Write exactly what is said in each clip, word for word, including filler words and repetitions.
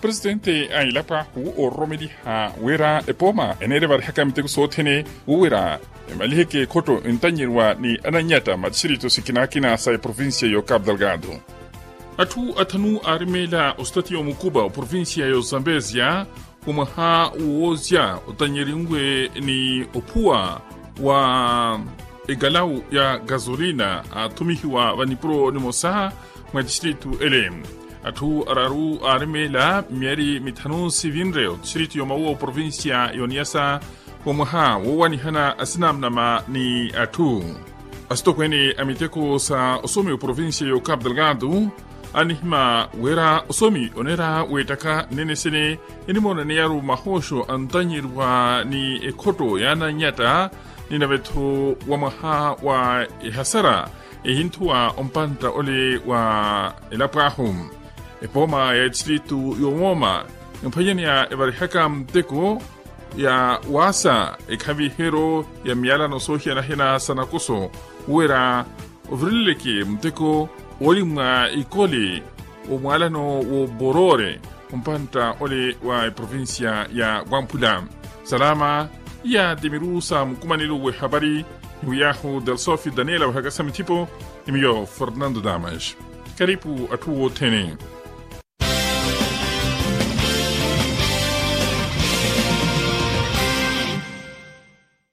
Presitente a elapo ahu oororomeliha wira epooma eneere varihaka miteko sothene, wo wira emaliheke ekhotto entanyeriwa ni ananyatta matistrito sikinakina sa eprovincia yo capu delgado. Atthu athanu aarimeela ositatiya omukupa oprovincia yo zambezia, omwaha woozia otanyerinwe ni ophuwa wa ekalawu ya gasolina athumihiwa vanipuro nimosa mwa tistrito ele. Atthu araru aarimeela miyari mithanu sivinre otistrito yomawuwa oprovincia yoniyasa, womwaha wowanihana asinamnama ni atthu. Asitokweene a miteko sa osomi oprovincia yo capu delgado anihima wira osomi oneera weettaka nnene sene enimoonaniyaru mahooxo antanyeriwa ni ekhotto ya ananyatta, ni nave-tho wa mwaha wa ehasara ehinthuwa ompantta ole wa elapo ahu. Epooma ya etistritu yomooma emphwanyaneya evarihaka muteko ya waasa ekhaviheryo ya miyalano soohiyanahiyana sa nakoso, wira ovireleleke muteko oli mwa ikole omwalano wo borore ompantta ole wa eprovincia ya wamphula. Salama iya timiru sa mukumanelo wehapari, ni wiyahu delsofi daniela wehakasa mithipo, ni miyo fernando damas. Karipu atthu wothene.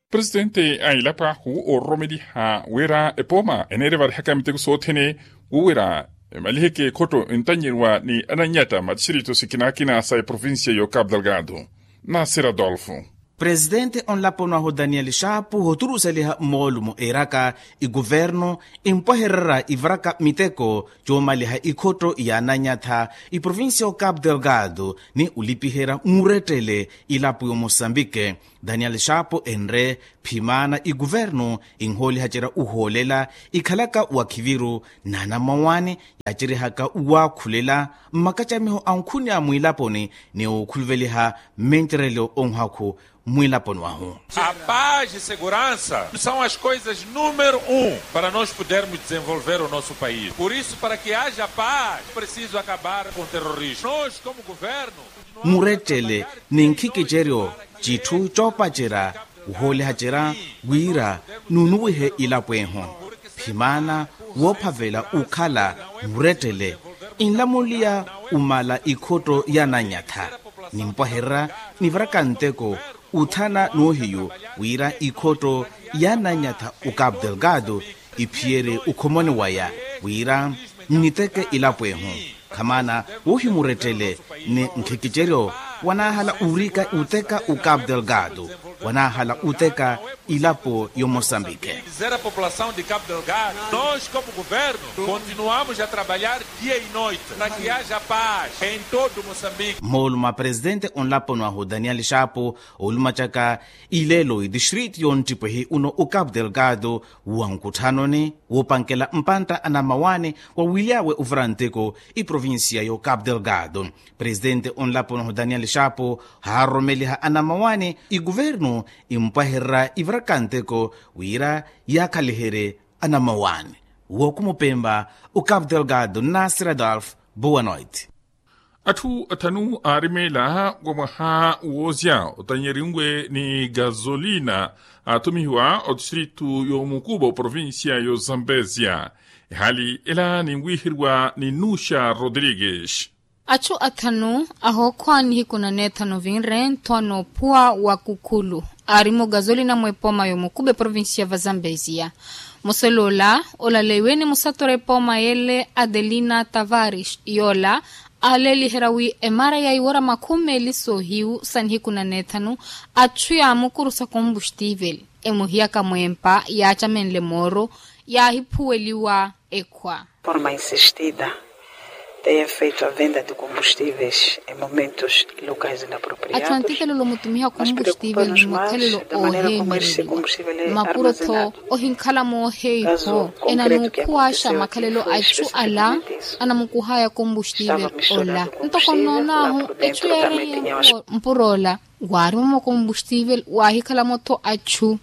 Presitente a elapo ahu oororomeliha wira epooma eneere varihaka miteko sothene, wo wira emaliheke ekhotto entanyeriwa ni ananyatta matistrito sikinakina sa eprovincia yo capu delgado. Nasir adolfo. Presitente onlaponi wahu daniel xapu oturuseliha moolumo eeraka ikuvernu empwahererya ivaraka miteko coomaliha ikhotto ya ananyatha iprovincia yo capu delgado ni olipiherya murettele ilapo yo mosambike. Daniel xapu enre phimana ikuvernu enhoolihacerya ohoolela ikhalaka wakhiviru na anamawani yaaceryehaka waakhulela mmakacamiho ankhuni a mwilaponi ni okhuluveliha mmencerelo onhakhu mwilaponi wahu. A paz e segurança são as coisas número um para nós podermos desenvolver o nosso país. Por isso, para que haja paz, preciso acabar com o terrorismo. Nós, como governo, murettele ni nkhikiceryo citthu coopacerya wohoolihacerya wira nunuwihe ilapo ehu. Phimana woophavela okhala murettele enlamuliya omala ikhotto ya ananyatha nimpwahererya nivaraka nteko othana noohiyu wira ikhotto ya ananyatha o capu delgado iphiyerye okhomoni waya wira nniteke ilapo ehu. Khamana wohimurettele ni nkhikiceryo wanaahala orika oteka o capu delgado wanaahala oteka ilapo yo mosambike. Dizer a população de capu delgado nós como governo continuamos a trabalhar dia e noite para que haja paz em todo mosambike. Moolumo a presitente onlaponi wahu daniel xapu olumacaka ilelo itistritu yonttipwehi uno o capu delgado wa nkutthanoni woopankela mpantta anamawani wawilyawe ovira nteko iprovincia yo capu delgado. Presitente onlaponi wahu daniel xapu haaroromeliha anamawani ikuvernu empwahererya ivaraka nteko wira yaakhaliherye anamawani. Wookhumupempa o capu delgado nasir adolf. Boa noite. Atthu athanu aarimeela wa mwaha woozya otanyerinwe ni gasolina aathumihiwa otistritu y'omukupa oprovincia y'ozambezia. Ehali ela ninwiheriwa ni nuxa rodrigues. Atthu athanu ahookhwa nihiku na neethanu vinre nthowa n'ophuwa wa kukhulu aarimo gasolina mw'epooma y'omukupa eprovincia va zambezia. Musoloola olaleiwe ni musatora epooma y'ele adelina tavares yoola aaleeliherya wi emara ya iwora makhumi meeli soohiyu sa nihiku na neethanu atthu yaamukuru sa kombustivel emuhiyaka mw'empa yaacamenle mooro yaahiphuweliwa ekhwa. Forma insistida teyem feito a venda de kombustives e momentos locais na propriados. Atthu antikelelo omutumiha kombustivel ni makhalelo ooheemeriwa makuro-tho ohinkhala mooheiho enanukhuwaaxa makhalelo a itthu ala anamukuhaya kombustivel ola. Ntoko nnoon'ahu etthu yeereiye mpuro ola waarimomo kombustivel waahikhalamo-tho atthu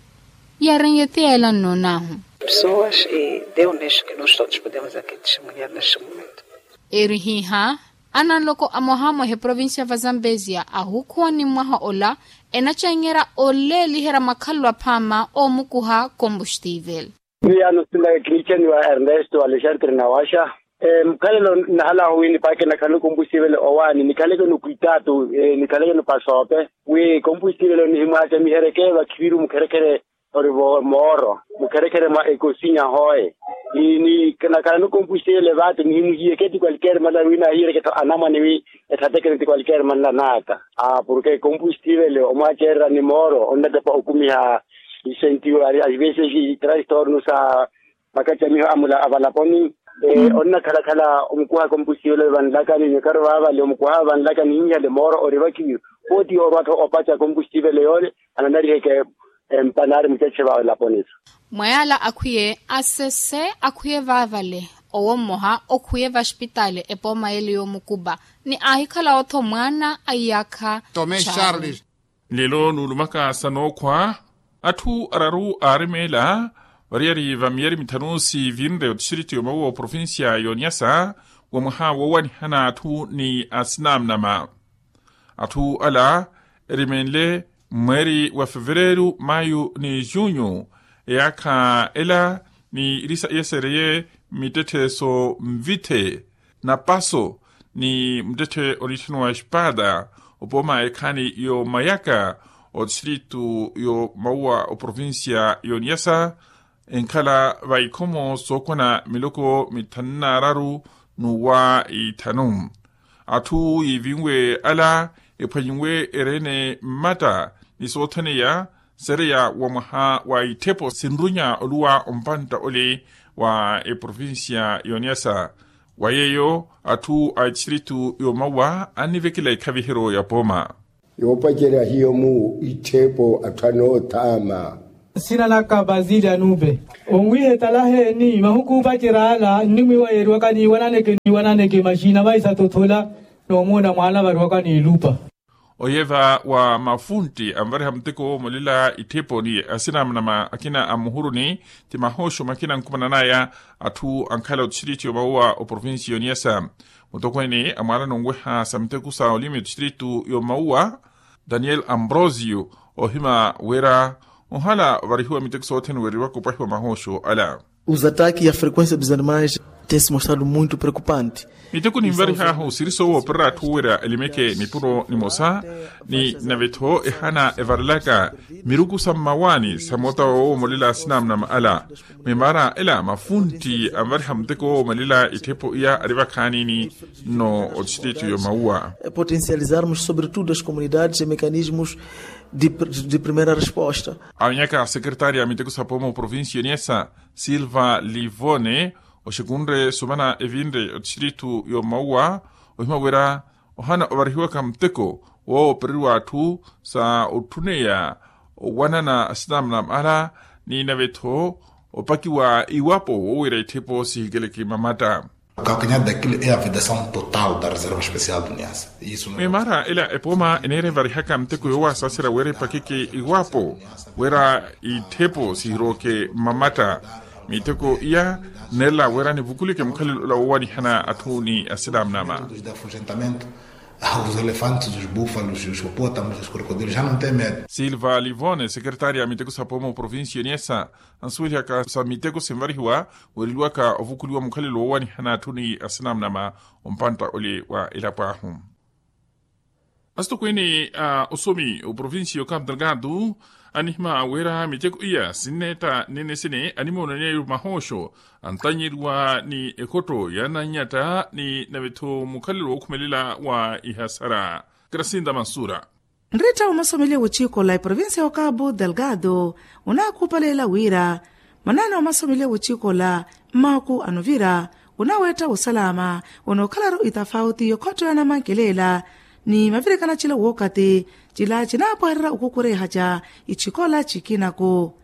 yeereiye ti yeela nnoon'ahu. Pessoas e deu nisso que nós todos podemos aqui testemunhar neste momento. Eerihiha Ananloko amoha mwehe provincia va zambezia ahukhuwa ni mwaha ola enacengerya oleeliherya makhalelo aphaama oomukuha kombustivel. Miyaano sila kinichaniwa ernesto alexandre nawaxa. Mukhalelo nnahalaahu wi nipaakena khanu kombustivel owaani nikhaleke nukwitaatu nikhaleke nupasoope wi kombustivel nihimwaacamiheryeke vakhiviru mukherekhere ori vo mooro mukherekhere mwa ekosinya hoye. Ni nakhalanu kompuxiyele vaati nihimuhiyeke ti kwalikeeri mala wi nahiyereke tho anamwane wi ethatekene ti kwalikeeri mala naaka. Porke kompuxiyele omwacererya ni mooro onnatepa okumiha isentiwari aivesexi transtorno sa makacamiho amula avalaponi. Onnakhalakhala omukuha kompuxiyele vanlakani nyokari vaavale omukuha vanlakani hinhiyale mooro ori vakiwi. Pooti orwa tho opaca kompuxiyele yoole ananariheke. Empanaari mucaceva elaponisa. Mwayaala akhwiye asese akhwiye vaavale owo mmoha okhwiye vaxpitaali epooma yele yoomukupa ni aahikhala otho mwaana a iyaakha. Tome charles. Lelo nuulumaka sa nookhwa atthu araru aarimeela variyari va miyari mithanu siivinre otistriti yoomawiwa oprovincia yooniyasa wa mwaha woowanihana atthu ni asinamnama. Atthu ala erimenle mmweeri wa fevereeru mayu ni junyu eyaakha ela ni erisa iyesereye mittetthe so nvitthe napaso ni muttetthe oniitthaniwa espada. Opooma ekhaani yoomayaka otistritu yoomauwa oprovincia yooniyasa enkhala va ikhomo sookona miloko mithanu n'araru n'uwa ithanu. Atthu yiivinwe ala ephwanyiwe ereene mmatta ni soothaneya sereya wa mwaha wa itthepo sinrunya oluwa ompantta ole wa eprovincia yooniyasa. Wa yeeyo atthu a etistritu yoomauwa annivekela ekhaviheryo ya pooma. Yoopacerya hiyo mu itthepo atthu anoothaama. Sina laka basili anupe onwiha etalaheeni mahuku opacerya ala nnimwiiwa yeeriwaka niiwananeke niiwananeke maxina vaisa tothola. Noomuuna mwaana variwaka niilupa. Oyeva wa mafuntti anvariha muteko woomolela itthepo ni asinamnama akina a muhuruni ti mahooxo makina ankumananaya atthu ankhala otistritu yoomauwa oprovincia yooniyasa. Mutokweene amwaala nonweha sa miteko sa olimi otistritu yoomauwa daniel ambrosio ohima wira ohala ovarihiwa miteko sothene weeriwaka opwahiwa mahooxo ala. Os ataques e a frequencia dos animais tem se mostrado muito preocupante. Miteko ninvarihaahu siri soowoopererya atthu wira elimeke nipuro nimosa ni nave-tho ehana evarelaka miruku sa mmawaani sa moota woowomolela asinamnama ala. Mwimaara ela mafuntti anvariha muteko woowomelela itthepo iya ari vakhaanini nno otistritu yoomauwa. Potencializarmos sobretudo as comunidades e mecanismos de primeira resposta. Awenyaka sekeretari ya miteko sa pooma oprovincia oniyasa silva livone oxikunre sumana evinre otistritu yoomauwa ohima wira ohana ovarihiwaka muteko woopereriwa atthu sa otthuneya owanana asinamnama ala ni nave-tho opakiwa iwapo woowira itthepo sihikeleke mamatta. Kakanhada kilo e avidasaw total da reserva especial do niasa. Mwimaara ela epooma eneera evarihaka muteko yoowasasera wira epakeke iwapo wira itthepo sihirooke mamatta. Miteko iya nneerela wira nivukuleke mukhalelo ola woowanihana atthu ni asinamnama. Aos elefantes os búfalos os hipopótamos os crocodilos já não tem medo. Silva livone sekeretari ya miteko sa pooma oprovincia oniyasa ansuwelihaka sa miteko sinvarihiwa weereliwaka ovukuliwa mukhalelo woowanihana atthu ni asinamnama ompantta ole wa elapo ahu. Asitokweene a osomi oprovincia yo cabo delgado anihima wira miteko iya sinneetta nene sene animoonanyeyo mahooxo antanyeriwa ni ekhotto ya nanyatta ni nave-tho mukhalelo wookhumelela wa ihasara. Krasinda mansura. Nritta womasomeliwa wochikola eprovincia wa cabo delgado onaakupalela wira manaana womasomeliwa wochikola mmaku anovira onaweetta wosalaama onookhala-ru itafauti yokhotto ya namankelela ni mavirikana cila wookati cila cinaapwehererya okukurehaca ichikola cikina-ku.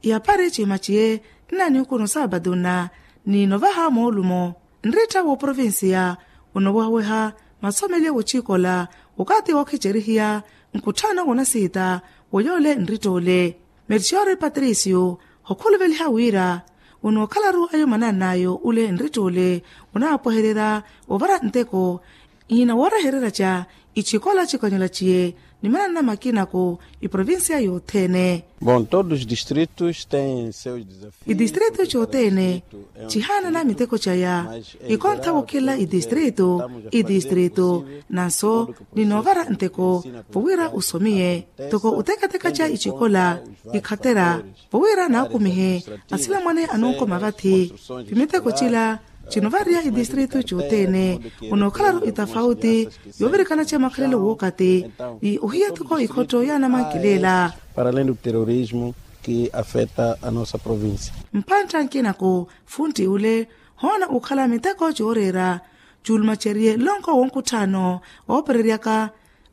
Iyaphari cimaciye nnaniuku nosaabadunna ni novaha moolumo nritta wooprovincia onoowehaweha masomeliwa wochikola okathi wookhicerihiya nkutthano wonasiita woyoole nritta ole. Merciore patricio okhuluveliha wira onookhala-ru ayo manaan'ayo ole nritta ole onaapwehererya ovara nteko Ihina woorehererya ca ichikola chikonyola chiye nimananna makinaku iprovincia yothene. Bom todos os distritos têm seus desafios. Idistritu cothene chihaanana miteko caya. Ikontha wokhela idistritu idistritu nanso ninoovara nteko vowira osomiye toko utekateka ca ichikola ikhatera vowira naakumihe asilamwane anonkoma vathi. Vimiteko cila cinovariya idistritu cothene onookhalaru itafauti yoovirikana ca makhalelo wookati ni ohiya toko ikhotto yaanamankilela. Para além do terrorismo que afeta a nossa província. Mpantta nkinaku funtti ule hoona okhala miteko cooreera cuulumaceriye lonko wonkutthaano oopereryaka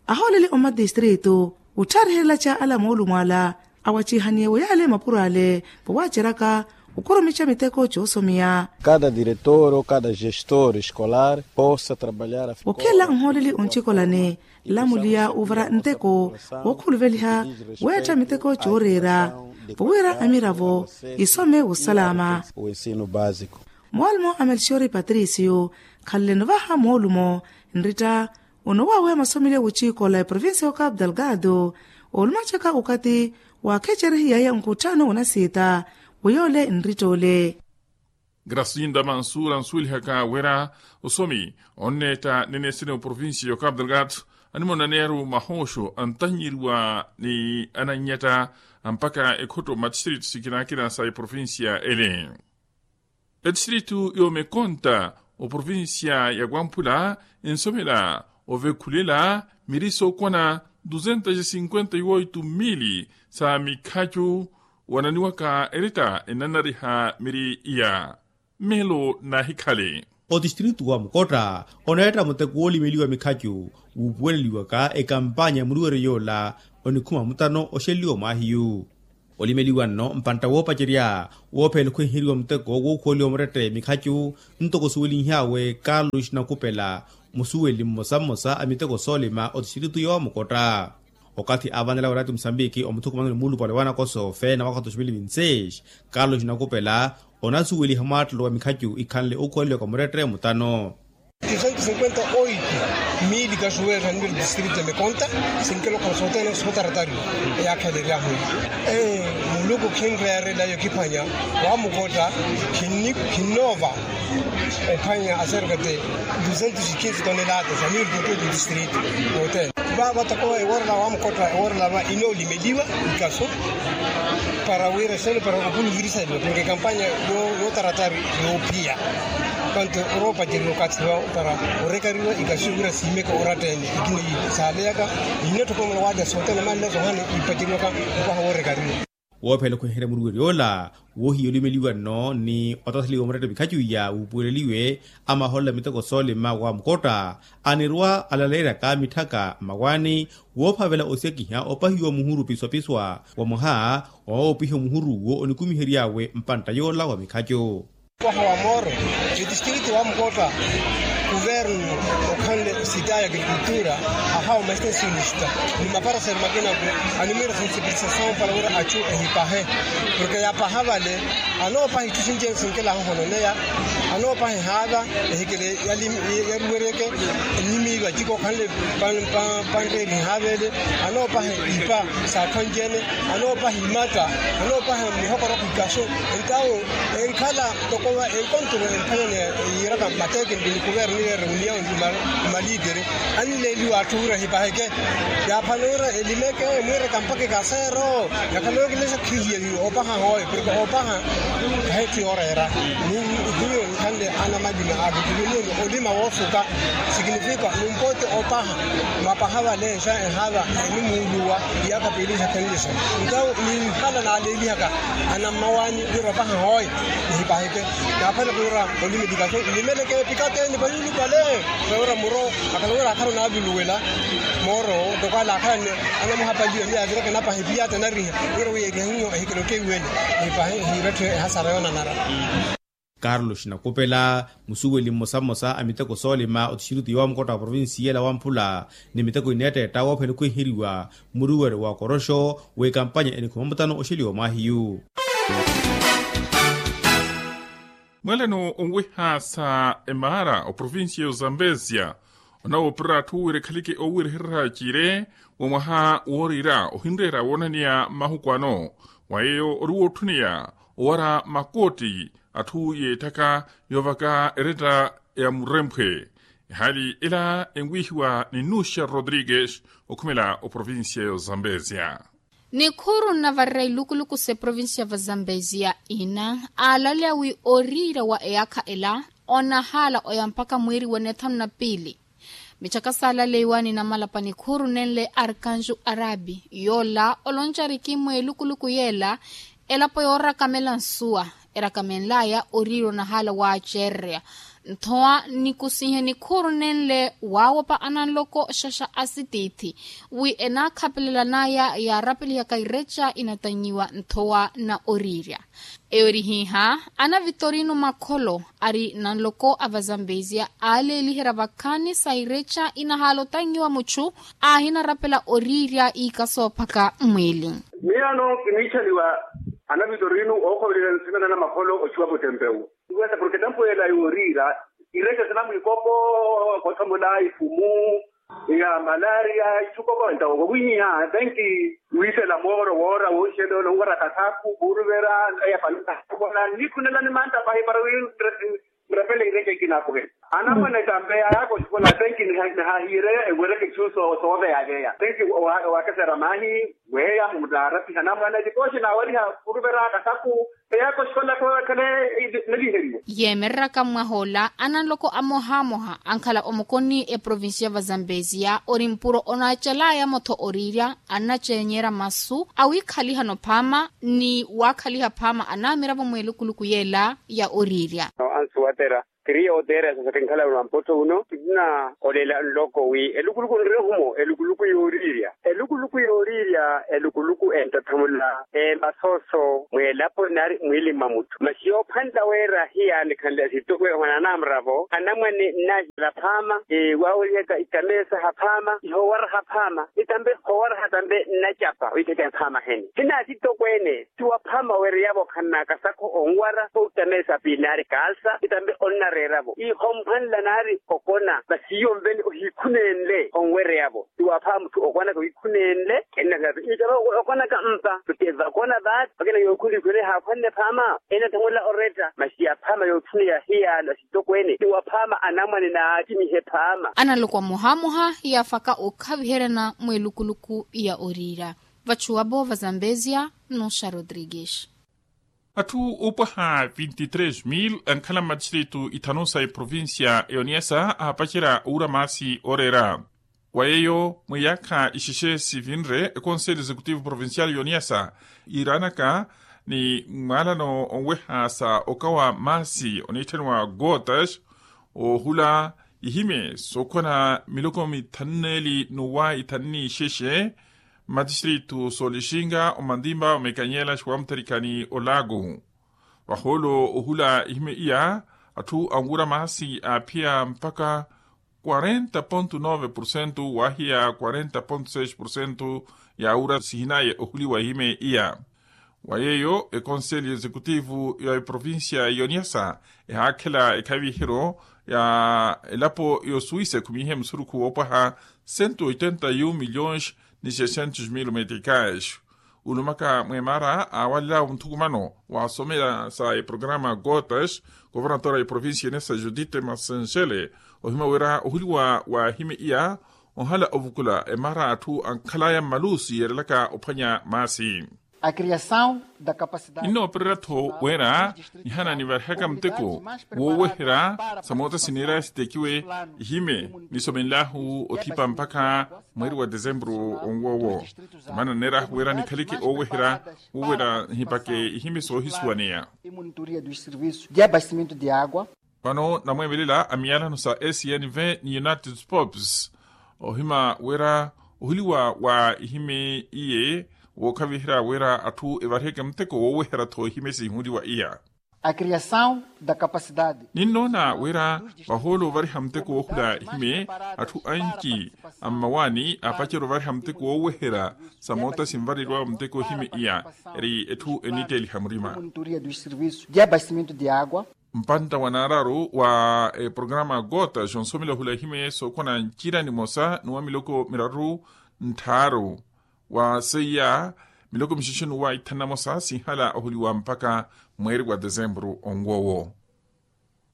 ahooleli omatistritu otthariherela-ca ala moolumo ala awacihaniye weyale mapuro ale vowaaceraka okurumica miteko coosomiya. Kada diretor ou kada gestor escolar possa trabalhar a. Okhela nhooleli ontikolani lamuliya ovara nteko wookhuluveliha weetta miteko cooreera vowira amiravo isome wosalama. O ensino básico. Moolumo a melchiori patricio khaleleno vaha moolumo nritta ono waaweya masomeliye wochikola eprovincia ya capu delgado olumacaka okati waakhecerihiyaye nkutthaano onasiita weyoole nrittoole. Grasinda mansura nsuwelihaka wira osomi onneetta neneesene oprovincia ya capu delgado animonaneya-ru mahooxo antanyeriwa ni anannyetta mpakha ekhotto matistritu sikinakina sa eprovincia ele. Etistritu yoomekonta oprovincia ya wamphula ensomela ovekhulela miri sookwana duzentas e cinquenta e oito mili sa mikhacu wananiwaka eretta enanariha miri iya. Melo nahikhale. Otistritu wa mukotta oneetta muteko woolimeliwa mikhacu wuupuweleliwaka ekampanya ya muluweryo yoola onikhuma mutano oxeleliwa mwaahiyu. Olimeliwa nno mpantta woopacerya woophela okhwenheriwa muteko wookhuweliwa murette mikhacu ntoko osuwelinhyawe carlos nakupela musuweli mmosa mmosa a miteko soolima otistritu yoomukotta. Okathi aavanela wira ti musambiki omuthukumano ni muulupale wa nakoso feena mwaka wa dos mil vinti seis carlos nakupela onasuweliha mwaattelo wa mikhacu ikhanle ookhuweliwaka murette mutano. Duzentos cinquenta oito mili kasuwela nivel distrito ya mekonta. Sinkelo khala sothene sotaratario eyaakheleriyahu. Muluku khinreerela yokiphwanya wamukotta khinnoova ophwanya aserkate duzentos e quinze tonelata za mili koto distrito. Yothene vava toko eworela wamukotta eworela va inoolimeliwa ikaso para wira sene para opuluvirisaliwa porke kampanya yootaratari yoophiya. Kanto oroopacerya okathi va para orekariwa ikasi wira siimeke oratta-ene ikina saaleyaka. Ihinatthoko mala waalya sothene manle sohana ipaceriwaka opaha woorekariwa. Woophela okhweherya muruweryo ola woohiya olimeliwa nno ni otatheliwa murette mikhacu iya wuupuweleliwe amahoolela miteko soolima wa mukotta anirwa alaleeryaka mitthaka mmawaani woophavela osekiha opahiwa muhuru piswapiswa wa mwaha woopiha muhuru wo onikumihery'awe mpantta yoola wa mikhacu. Waha wa mooro etistritu wa mukotta kuvernu okhanle sita ya agrikultura ahawa mastensionista ni maparasele makinaku animwira sensipilisasao para wira achu ehipahe porke yapaha vale anoopaha itthu sinci-ene sinkela ahohononeya anoopaha ehaava ehikele yaruwereke ennimi vaciko okhanle panreeri ehaava ele anoopaha ipa saakhwanci-ene anoopaha imatta anoopaha mihokoroko ikasu entawo enkhala toko va enkonturo emphanyani yiiraka mateke nikuvernu nireere oniya omalitere anleeliwa atthu wira ehipaheke yaaphano wira elimeke emwiireka mpakha ikaseero yakhala yookilesha khihiya ni opaha hooyo porke opaha kahetti yooreera ni hiyo nkhanle anamalima aakituluniyeni olima woosuka sikinifika numpote opaha mwapaha vale exa ehaava enimuuluwa iyaakha piili exakhenlexo ntawo ninhala naaleelihaka anammawaani wira opaha hooyo nihipaheke naaphana kuwira olimeli kaso nlimeleke epikate nipayulupale. Sawira muro akhala wira akhala onaavuluwela mooro toko ale akhala anamuhapaliwa ni avireke napaha epiyata nariha wira wiyeriha hiyo ehikele otteiwele nipahe ehiiretthe ehasara yoonanara. Carlos nakupela musuweli mmosa mmosa a miteko soolima otixirutu yoowa mukotta wa provincia ela wamphula ni miteko ineettetta woophela okhwiheriwa muruwere wa koroxo w'ekampanya enikhuma mutano oxeliwa mwaahiyu. Mweleno onwiha sa emaara oprovincia y'ozambezia Onawoopererya atthu wira ekhaleke oowerehererya ciire wa mwaha wooriira ohinreera woonaneya mahuku ano. Wa yeeyo ori wootthuniya owara makootti atthu yeettaka yoovaka eretta ya muremphwe. Ehaali ela enwiihiwa ni nuxa rodrigues okhumela oprovincia y'ozambezia. Nikhuuru nnavarerya ilukuluku s'eprovincia va zambezia ina aalaleya wi oriira wa eyaakha ela onahaala oya mpakha mwiiri wa nethanu na piili. Michaka saalaleiwa ni namalapa nikhuuru nenle arkanju arabi yoola oloncariki mweelukuluku yeela elapo yoorakamela nsuwa erakamenlaya oriira onahaala waacererya. Nthowa nikusihe nikhuuru nenle waawopa ananloko xaxa asitiithi wi enaakhapelela naya yaarapelihaka ireca inatanyiwa nthowa na oriirya. Eyo erihiiha ana vitorino makholo ari nanloko a vazambezia aaleeliherya vakhaani sa ireca inahaala otanyiwa muchu aahinarapela oriirya iika soophaka mmwiili. Miyo ano kiniichaliwa ana vitorino ookhovelela nsina na namakholo ochiwa kutempeu. Wesa porke tempu ela yooriira ireca sinamwiikopo kothomola ifumu ya malaria ichukopo entawo wawihiha tenki wiisela mooro woora wooxela onwara kasaku kuuruvera eyapanisa kola nikhunela ni manta pahi para wi murepele ireca ikinakuhela anamwane tambe ayaka oxikola tenki nihahiire ewereke isu sooveya veya tenki owakesera maahi weya mutaarapiha anamwane tipooxi naawariha kuuruvera kasaku. Eyaka oxikola khole naliheriwa yeemereraka mmwah'ola ananloko amohamoha ankhala omokoni eprovincia va zambezia ori mpuro onaacalaya-mo-tho oriirya annaceenyerya masu awiikhaliha-no phaama ni waakhaliha phaama anaamiravo mweelukuluku yeela ya oriirya. Ansuwatera kiriya oteera sasa kinkhala wino ampottho uno kinnakolela nloko wi elukuluku nrehumo elukuluku yooriirya elukuluku yooriirya elukuluku entathamula emasooso mweelapo nari mwiili mwa mutthu masi yoophwanla weera hiyaanikhanle asitokwe ohona anamuravo anamwane nnahiyala phaama waawerihaka itamesa haphaama ihoowaraha phaama itambe hoowaraha tambe nnacapa oithekeya phaama hene sina asitokweene ti waphaama weereyavo okhanna kasakho onwara otamesa piili nari kaalsa itambe onnareeravo ihoomphwanla nari okona masi iyo mveni ohiikhunenle onwereyavo ti waphaama mutthu okwanaka wiikhunenle ennakhapi iitava okonaka mpa kuti vakona vaati vakina yookhunlikhwene haakhwanne phaama enathamula oretta masi ya phaama yootthuniya hiyaano asitokweene ti waphaama anamwane naatimihe phaama. Analoko amohamoha yaafaka okhaviheryana mweelukuluku ya oriira vachuwavo va zambezia. Nuxa rodrigues. Atthu oopwaha vinti tres mil ankhala mmatistritu ithanu sa eprovincia ya oniasa aapacerya owura maasi ooreera wa yeeyo mwiyaakha ixexe sivinre econselho executivo provincial ya oniasa yiiraanaka ni mwaalano onweha sa okawa maasi oniitthaniwa gotas oohula ihimye sookhwana miloko mithanu neeli n'uwa ithanu n'ixexe mmatistritu soolixinga omantimba omekanyela xiwamutherikha ni olaaku vahoolo ohula ihimye iya atthu anwura maasi aaphiya mpakha quarenta ponto nove porcento waahiya quarenta ponto seis porcento yaawura sihinaye ohuliwa ihimye iya wa yeeyo econselho executivo ya eprovincia ya oniasa ehaakhela ekhaviheryo ya elapo ya osuwisa ekhumihe musurukhu woopwaha cento oitenta e um milhões ni seiscentos mil meticais olumaka mweemara aawalelawo muthukumano waasomela sa eprograma gotas governatora ya eprovincia ya oniasa judite masenxele ohima wira ohuliwa wa ehimye iya onhala ovukula emara atthu ankhalaya mmalusi yeerelaka ophwanya maasi. Ninoopererya-tho wira nihana nivarihaka muteko wooweherya samoota sineeraya sitekiwe ihimye nisomenlahu othipa mpakha mweeri wa desempuru onwoowo. Maana nneerahu wira nikhaleke ooweherya wooweherya nhipake ihimye soohisuwaneya. Vano namweemelela a miyalano sa snv ni united sports ohima wira ohuliwa wa ihimye iye wookhaviherya wira atthu evariheke muteko wooweherya-tho ihimye siihuliwa iya. Ninnoona wira vahoolo ovariha muteko woohula ihimye atthu anci a mmawaani aapacerya ovariha muteko wooweherya samoota sinvareriwawe muteko ihimye iya eri etthu eniitteeliha murima. Mpantta wa naararu wa eprograma gota xonsomela ohula ehimeye sookhona ncira nimosa ni wa miloko miraru nttharu wa seiya miloko mixixonu wa ithanu na mosa sinhala ohuliwa mpakha mweeri wa desempuru onw'owo.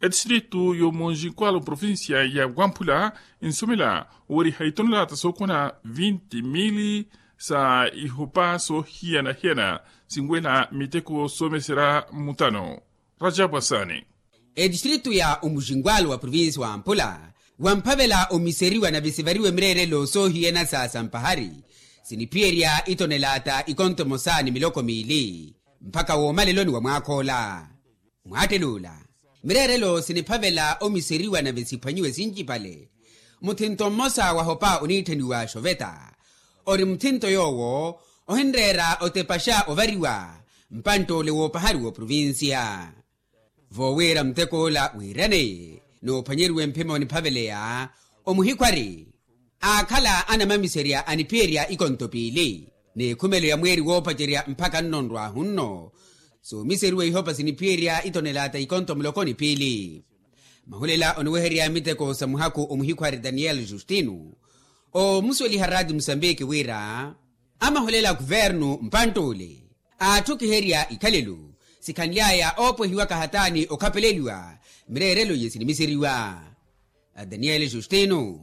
Etistritu y'omonjinkwala oprovincia ya wamphula nsomela oweriha itonelata sookhona vinti mili sa ihopa soohiyana-hiyana sinwela miteko soomeserya mutano. Rajabu asani. Etistritu ya omuxinkwalo wa provincia wa mpula wamphavela omiseriwa na visivariwe mireerelo soohiyana sa sampahari siniphiyerya itonelata ikonto emosa ni miloko miili mpakha woomaleloni wa mwaakh'ola. Mwaattel'ula mireerelo siniphavela omiseriwa nave siphwanyiwe sincipale. Muthinto mmosa wahopa oniitthaniwa xoveta ori muthinto yoowo ohinreera otepaxa ovariwa mpantt'ole woopahari w'oprovincia. Voowira mutek'ola wiiraneye n'uphwanyeriwe mphimo niphaveleya omuhikhwari aakhala anamamiserya aniphiyerya ikonto piili n'ekhumelo ya mweeri woopacerya mpakha nno nrwaahu nno. Soomiseriwa ihopa siniphiyerya itonelata ikonto muloko ni piili. Mahulela oniweherya miteko sa muhaku omuhikhwari daniyeli justino oomusweliha raati musambiki wira amahulela a kuvernu mpantt'ule aatthukiherya ikhalelo sikhanly'aya oopwehiwaka hataani okhapeleiwa mireerelo iye sinimiseriwa. Daniele justino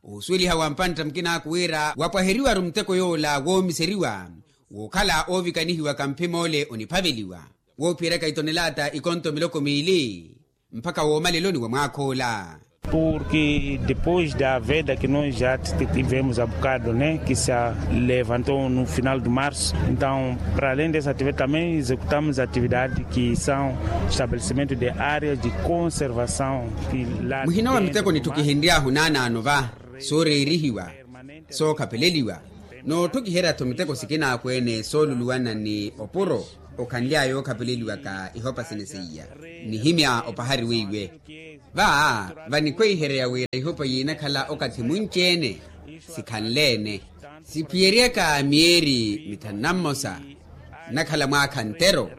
osuweliha wa mpantta mukinaaku wira wapwaheriwaru muteko yoola woomiseriwa wookhala oovikanihiwaka mphim'ole oniphaveliwa woophiyeryaka itonelata ikonto miloko miili mpakha woomaleloni wa mwaakh'ola. Porque depois da veda que nós já tivemos a bocado né que se levantou no final de março, então para além dessa atividade também executamos atividade que são estabelecimento de áreas de conservação. Muhina wa miteko nittukihenry'ahu naanaano va sooreerihiwa sookhapeleliwa noottukiherya-tho miteko sikinaakwene sooluluwana ni opuro okhanly'aya ookhapeleliwaka ihopa sene seiya nihimya opahari weiwe. Va vanikweyiherya wira ihopa yiinakhala okathi munci-ene sikhanle-ene siphiyeryaka miyeeri mithanu na mmosa nnakhala mwaakha ntero.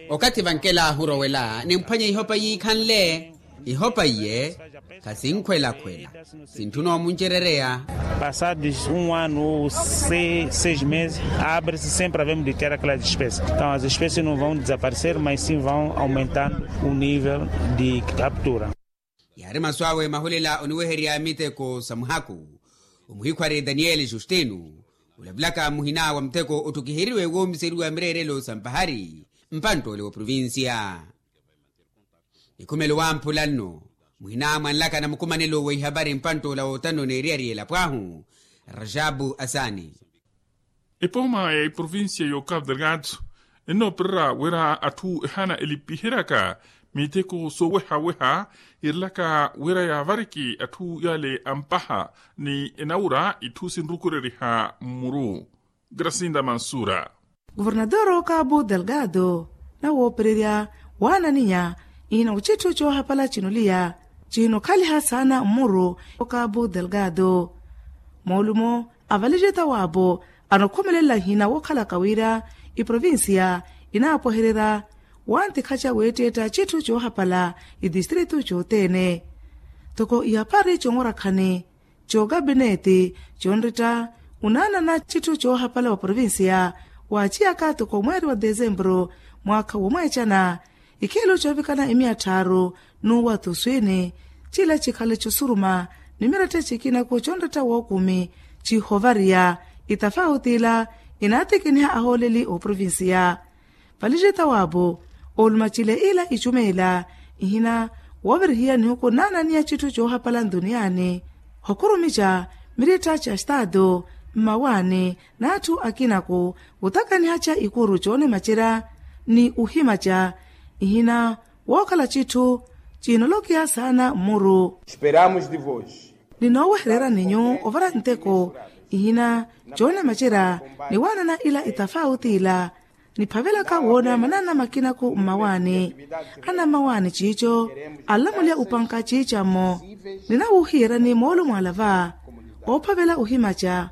Okathi vankelahu orowela nimphwanya ihopa yiikhanle ihopa iye khasinkhwelakhwela sintthuna omuncerereya. Passados um ano ou seis meses abre-se sempre havemos de ter aquelas espécies, então as espécies não vão desaparecer mas sim vão aumentando o nível de captura. Yaari masu awe mahulela oniweherya miteko sa muhaku omuhikhwari daniyeli justino olavulaka muhina wa muteko ottukiheriwe woomiseriwa mireerelo sa mpahari mpantt'ole wa provincia. Ikhumelo wamphula nno muhina mwanlaka na mukumanelo wa ihavari mpantt'ola wootano n'eriyari y'elapo ahu rajabu asani. Epooma ya iprovincia y'okapu delgado ennoopererya wira atthu ehaana elipiheryaka miteko sooweha-weha irilaka wira yaavariki atthu yale ampaha ni enawura itthu sinrukureriha mmuru. Grasinda mansura. Governador okapu delgado nawoopererya waananinya ihina ochitthu choohapala chinuliya chinokhaliha saana mmuru okapu delgado. Moolumo avalijeta waapo anokhomelela nhina wookhalaka wira iprovincia inaapwehererya wantikhaca weetteetta citthu coohapala itistritu cothene. Toko ihapari coonwarakhani cookapineti conritta unaanana citthu coohapala wa provincia waaciyaka toko mweeri wa desempuru mwaakha womweecana ikhelo coovikana emiya tthaaru n'uwathi oswiini cila cikhale cosuruma ni miratta cikinaku conretta wookumi cihovariya itafauti ila inaatikiniha ahooleli ooprovincia. Valijeta waapo ooluma cila ila icumeela ihina woovirihiya nihuku naananiya citthu coohapala ntuniyaani hokurumica miritta ca staatu mmawaani n'atthu akinaku otakanihaca ikuru coonimacerya ni ohimaca ihina wookhala citthu ciinolokiha saana mmuru. Esperamos de vos. Ninoowehererya ninyu ovara nteko ihina coonimacerya ni waanana ila itafauti ila niphavelaka woona manana makinaku mmawaani anammawaani ciico anlamulya opanka ciicammo. Ninawuuhiyeryani moolumo ala va oophavela ohimaca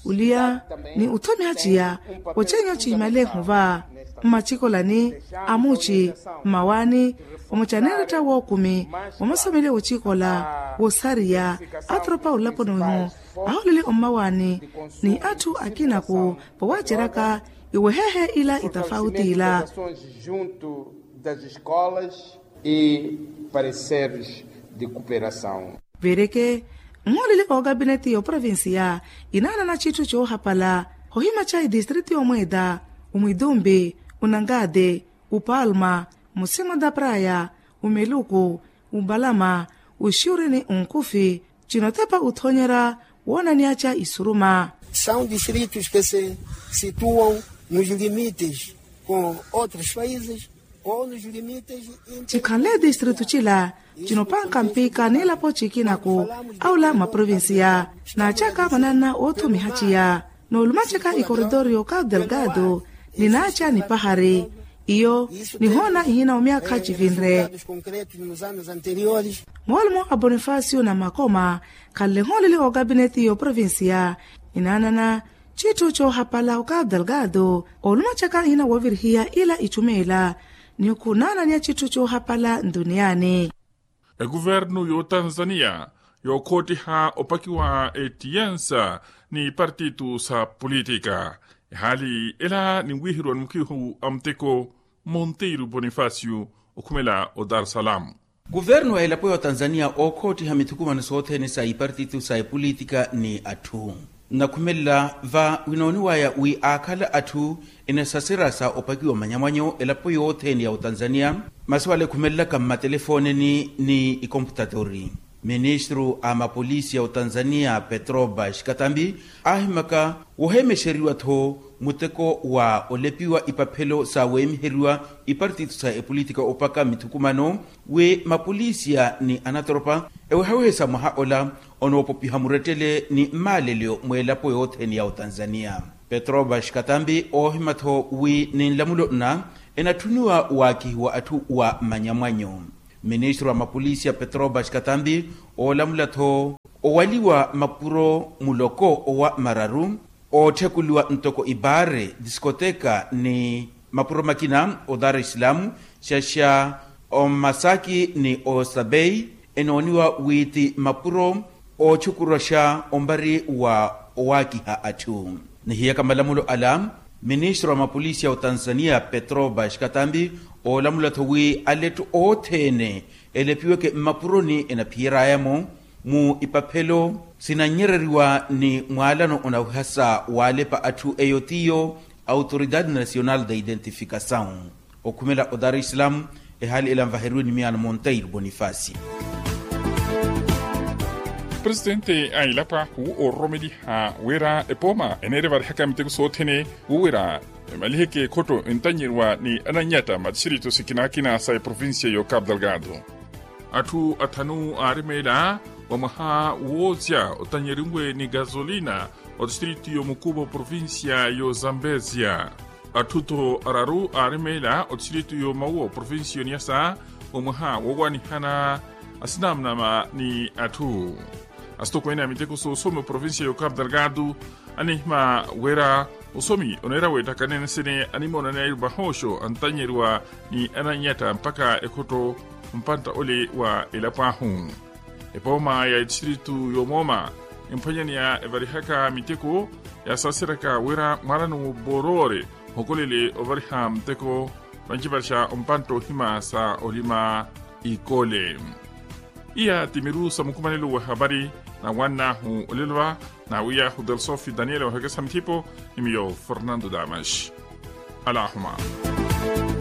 oliya ni othomiha ciya ocenyo cihimalehu va. mmacikolani, amuci, mmawaani, omucaneeretta wookumi, omusomeliwa ocikola, wosariya, atropa olaponi wihu, aholeli ommawaani, ni atthu akinaku, vowaaceryaka iwehehe ila itafauti ila. Junto das escolas e pareceres de cooperação. Veereke, nhooleli ookapineti y'oprovincia inaanana citthu coohapala, hohima ca itistritu y'omweeta, omwitumbi, onankate, opalma, mosimo da praya, omeluku, opalama, oxuri ni onkufi, cinotepa othoonyerya woonanyaca isuruma. São distritos que se situam nos limites com outros países ou nos limites. Cikhanle distritu cila cinopanka mpika n'ilapo cikinaku, aula maprovincia naacaka mananna oothumiha ciya, noolumacaka ikoritorio ka delgado, ninaaca nipahari. Iyo nihoona ihina omyakha civinre. Moolumo a bonifacio na makoma khanle nhooleli ookapineti y'oprovincia, inaanana citthu coohapala okapu delgado, oolumacaka ihina woovirihiya ila itthumeela, ni okhunaananiya citthu coohapala ntuniyaani. Ekuvernu y'otanzaniya yookhottiha opakiwa etiyensa ni partitu sa politika, ehaali ela ninwiheriwa ni mukhihu a muteko monteiro bonifacio okhumela o dar es salaam. Kuvernu a elapo ya otanzaniya ookhoottiha mithukumano sothene sa ipartitu sa epolitika ni atthu, nnakhumelela va winooniwaya wi aakhala atthu enasaserya sa opakiwa manyamwanyo elapo yothene ya otanzaniya. Masi wala ekhumelelaka mmatelefoneni ni ikomputatori, ministru a mapolisi ya otanzaniya petroba xikatambi aahimaka woheemexeriwa-tho muteko wa olepiwa ipaphelo sa weemiheriwa ipartitu sa epolitika opaka mithukumano, wi mapolisiya ni anatropa ewehawehe sa mwaha ola onoopopiha murettele ni mmaalelyo mweelapo yothene ya otanzaniya. Petroba xikatambi oohima-tho wi ni nlamulo nna enatthuniwa waakihiwa atthu wa manyamwanyo. Ministru wa mapolisiya petroba xikatambi oolamula-tho owaliwa mapuro muloko owa mararu, ootthekuliwa ntoko ibaare, diskoteka ni mapuro makina o dar es salaam, xaxa omasaki ni osabei, enooniwa wi ti mapuro ootxukuroxa ombari wa owaakiha atthu. Nihiyaka malamulo ala, ministru wa mapolisiya otanzaniya petroba xikatambi oolamula-tho wi aletthu othene elepiweke mmapuroni enaphiyeraya-mo mu ipaphelo sinannyereriwa ni mwaalano onawihasa waalepa atthu eyo tiyo autoridade nacional da identificasaw. Okhumela o dar es salaam, ehaali ela nvaheriwe ni miyaano monteiro bonifacio. Presitente a elapo ahu oororomeliha wira epooma eneera evarihaka miteko sothene, wo wira emaliheke ekhotto entannyeriwa ni ananyatta matistrito sikinakina sa eprovincia y'ocapu delgado. Atthu athanu aarimeela wa mwaha woozya otannyerinwe ni gasolina otistrito y'omukuva oprovincia y'ozambezia. Atthu-tho araru aarimeela otistrito y'omauwa oprovincia y'oniyasa wa mwaha woowanihana asinamnama ni atthu. Asitokweene a miteko soosomi oprovincia y'ocapu delgado anihima wira osomi oneera weettakanene sene animoonaneyairu vahooxo antannyeriwa ni ananyatta mpakha ekhotto mpantta ole wa elapo ahu. Epooma ya etistrito y'omooma emphwanyaneya evarihaka miteko yaasaseryaka wira mwaalano w'obooroore ohokolele ovariha muteko vancivarixa ompantta ohima sa olima ikole. Iya ti miru sa mukumanelo w'ehavari na wann'ahu olelo va naawiy'ahu delsofi daniel wahekesa mithipo ni miyo fernando damas. Alahuma.